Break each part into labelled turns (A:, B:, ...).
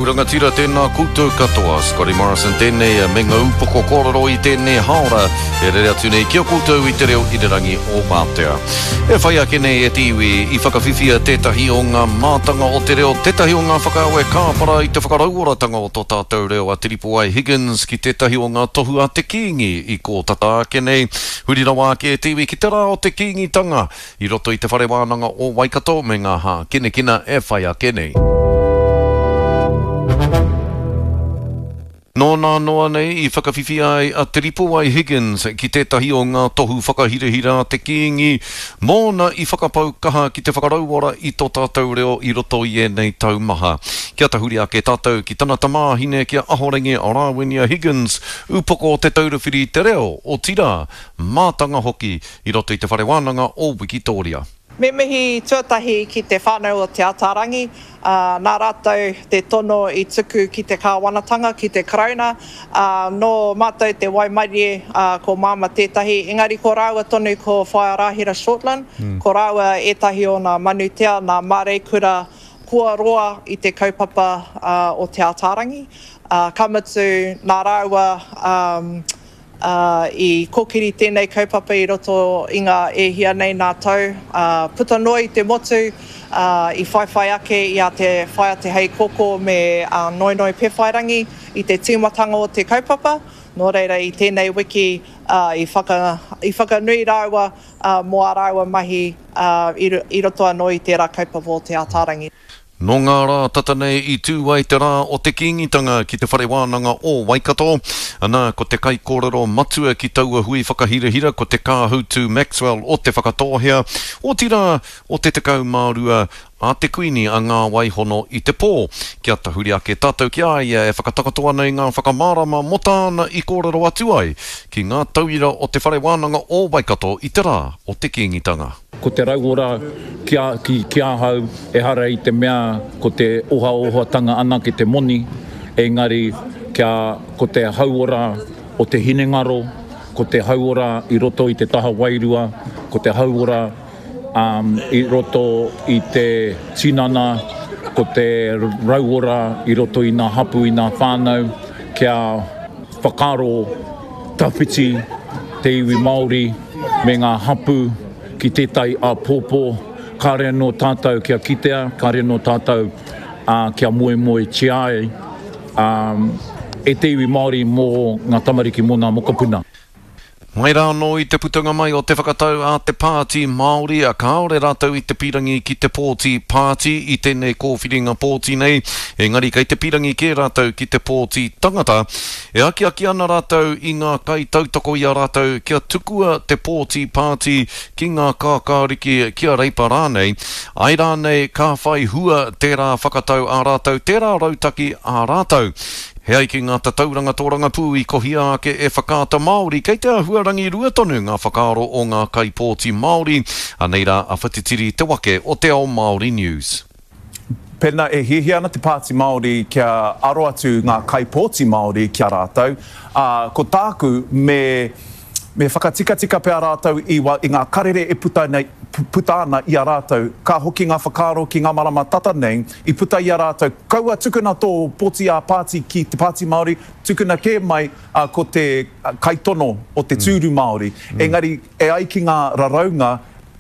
A: rangatira, tēnā koutou katoa. Scotty Morrison tēnei me ngā upoko kōrero i tēnei hāora e rere atu nei ki a koutou i te reo irirangi o Wātea. E whai ake nei e te iwi i whakawhiwhia tētahi o ngā mātanga o te reo, tētahi o ngā whakaawe kāpara i te whakarauoratanga o tō tātou reo a Te Ripowai Higgins ki tētahi o ngā tohu a te Kīngi i kō tata ake nei. Huri rawa ake e te iwi ki te rā o te Kīngitanga I roto i Te Whare Wānanga o Waikato me ngā hākinakina e whai ake nei. Nō nā noa nei i whakawhiwhia ai a Te Ripowai Higgins ki tētahi o ngā tohu whakahirahira a te Kīngi mōna i whakapau kaha ki te whakarauora i tō tātou reo i roto i ēnei tau maha. Kia tahuri ake tātou ki tana tamāhine ki a Ahorangi Rāwinia Higgins, upoko o Te Taura Whiri i te Reo, otirā, mātanga hoki i roto i Te Whare Wānanga o Wikitōria.
B: Me mihi tuatahi ki te whānau o Te Ataarangi, ā, nā rātou te tono i tuku ki te kāwanatanga, ki te Karauna, ā, nō mātou te waimarie, ā, ko Māma tētahi, engari ko rāua tonu ko Whaea Rāhira Shortland, ko rāua ētahi o nā manutea, nā māreikura kua roa i te kaupapa o Te Ataarangi, ā, ka mutu nā rāua, ā, ā, i kōkiri tēnei kaupapa i roto i ngā e hia nei nā tau, ā, puta noa i te motu, ā, i whaiwhai ake i a Te Whaea Te Heikōkō me a Noenoe Pewhairangi i te tīmatanga o te kaupapa, nō reira i tēnei wiki, ā, i whaka, i whakanui rāua, ā, mō ā rāua mahi, ā, i, i roto anō i tērā kaupapa o Te Ataarangi.
A: Nō ngā rā tata nei i tū ai te rā o te Kīngitanga ki Te Whare Wānanga o Waikato. Ana, ko te kaikōrero matua ki taua hui whakahirahira ko Te Kāhutu Maxwell o Te Whakatōhea, otirā, o te 12 a te Kuini a Ngā Waihono i te pō. Kia tahuri ake tātou ki a ia e whakatakoto ana i ngā whakamārama mō tāna i kōrero atu ai ki ngā tauira o Te Whare Wānanga o Waikato i te rā o te Kīngitanga.
C: Ko te rauora ki a, ki, ki ahau, ehara i te mea ko te ohaohatanga anake te moni, engari kia, ko te hauora o te hinengaro, ko te hauora i roto i te taha wairua, ko te hauora um, i roto i te tinana, ko te rauora i roto i ngā hapu, i ngā whānau, kia whakaaro tawhiti te iwi Māori me ngā hapū ki tētahi āpōpō, kāre anō tātou kia kitea, kāre anō tātou kia moemoetia ai e te iwi Māori mō ngā tamariki, mō ngā mokopuna.
A: Mai rā anō i te putanga mai o te whakatau a te Pāti Māori, kāore rātou i te pīrangi ki te pōti pāti i tēnei kōwhiringa pōti nei, engari kei te pīrangi kē rātou ki te pōti tangata. E akiaki ana rātou i ngā kaitautoko i a rātou kia tukua te pōti pāti ki ngā kākāriki, ki a Reipa rānei, āe rānei ka whai hua tērā whakatau ā rātou, tērā rautaki ā rātou. He ai ki ngā tatauranga tōrangapū i kohia ake e Whakaata Māori, kei te āhua rangirua tonu ngā whakaaro o ngā kaipōti Māori. Anei rā a Whatitiri Te Wake o Te Ao Māori News.
D: Pēnā e hiahia ana te Pāti Māori kia aro atu ngā kaipōti Māori ki a rātou, ā, ko tāku me, me whakatikatika pea rātou i, i ngā karere e puta nei, puta ana i a rātou. Ka hoki ngā whakaaro ki ngā marama tata nei, i puta i a rātou, kaua tukuna tō pōti ā-pāti ki te Pāti Māori, tukuna kē mai, ā, ko te kaitono o te tūru Māori. Engari, e ai ki ngā raraunga,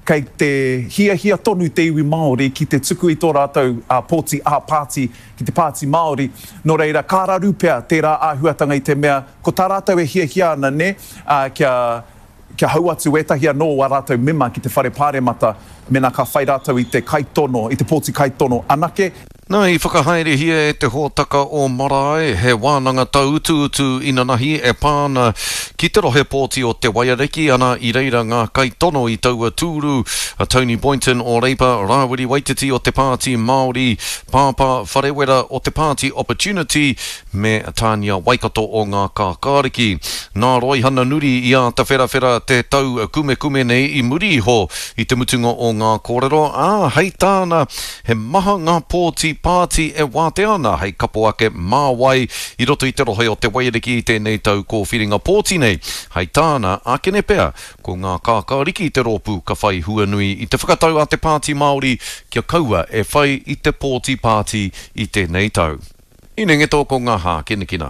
D: Kei te hiahia tonu te iwi Māori ki te tuku i tō rātou pōti ā-pāti ki te Pāti Māori, nō reira ka raru pea tērā āhuatanga i te mea ko tā rātou e hiahia ana nē, kia, kia hau atu ētahi anō o ā rātou mema ki te Whare Pāremata mēnā ka whai rātou i te kaitono, i te pōti kaitono anake.
A: Nā, i whakahaerehia e te hōtaka o Marae he wānanga tauutuutu inanahi e pā ana ki te rohe pōti o Te Waiariki, ana i reira ngā kaitono i taua tūru, a Tony Boynton o Reipa, Rāwiri Waititi o te Pāti Māori, Pāpā Wharewera o te Pāti Opportunity, me Tānia Waikato o Ngā Kākāriki. Nā Roihana Nuri i āta wherawhera te tau kumekume nei i muri iho i te mutunga o ngā kōrero, ā, hei tāna, he maha ngā pōti pāti e wātea ana hei kapo ake mā wai i roto i te rohe o Te Waiariki i tēnei tau kōwhiringa pōti nei. Hei tāna, ākene pea, ko Ngā Kākāriki te rōpū ka whai hua nui i te whakatau a te Pāti Māori kia kaua e whai i te pōti pāti i tēnei tau. Inengeto ko ngā hākinakina.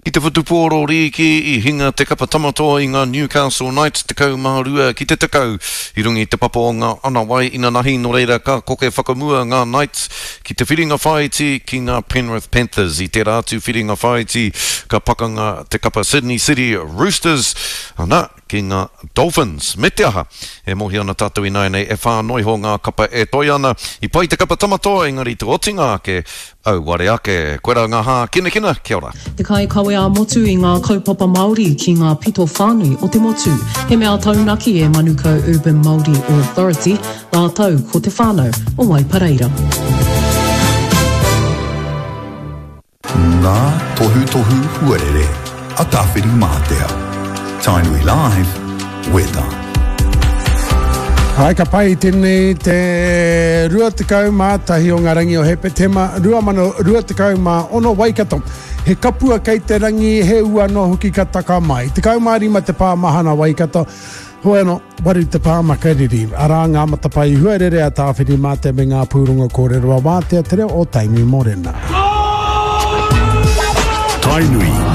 A: I te whutupōro rīki i hinga te kapa Tamatoa i ngā Newcastle Knights 12 ki te 10 i runga i te papa o ngā anawai inanahi nō reira ka koke whakamua ngā Knights ki te whiringa whāiti ki ngā Penrith Panthers. I tērā atu whiringa whāiti ka pakanga te kapa Sydney City Roosters, ana, ki ngā Dolphins. Me te aha, e mōhio ana tātou ināianei e whā noa iho ngā kapa e toe ana. I pai te kapa Tamatoa engari te otinga ake, auare ake. Koirā ngā hākinakina, kia ora.
E: Te kaikawe ā-motu i ngā kaupapa Māori ki ngā pito whānui o te motu. He mea taunaki e Manukau Urban Māori Authority rātou ko te whānau o Waipareira.
F: Ngā tohutohu huarere a Tāwhirimātea. Tainui Live, Weather.
G: Hai, ka pai tēnei te 21 o ngā rangi o Hepetema 2026 Waikato. He kapua kei te rangi, he ua noa hoki ka taka mai. 15 te pā mahana Waikato. Hoi anō, waru te pā makariri. Arā ngā matapae huarere a Tāwhirimātea me ngā pūrongo kōrero a Wātea Te Reo o Tainui Morena.
F: Tainui.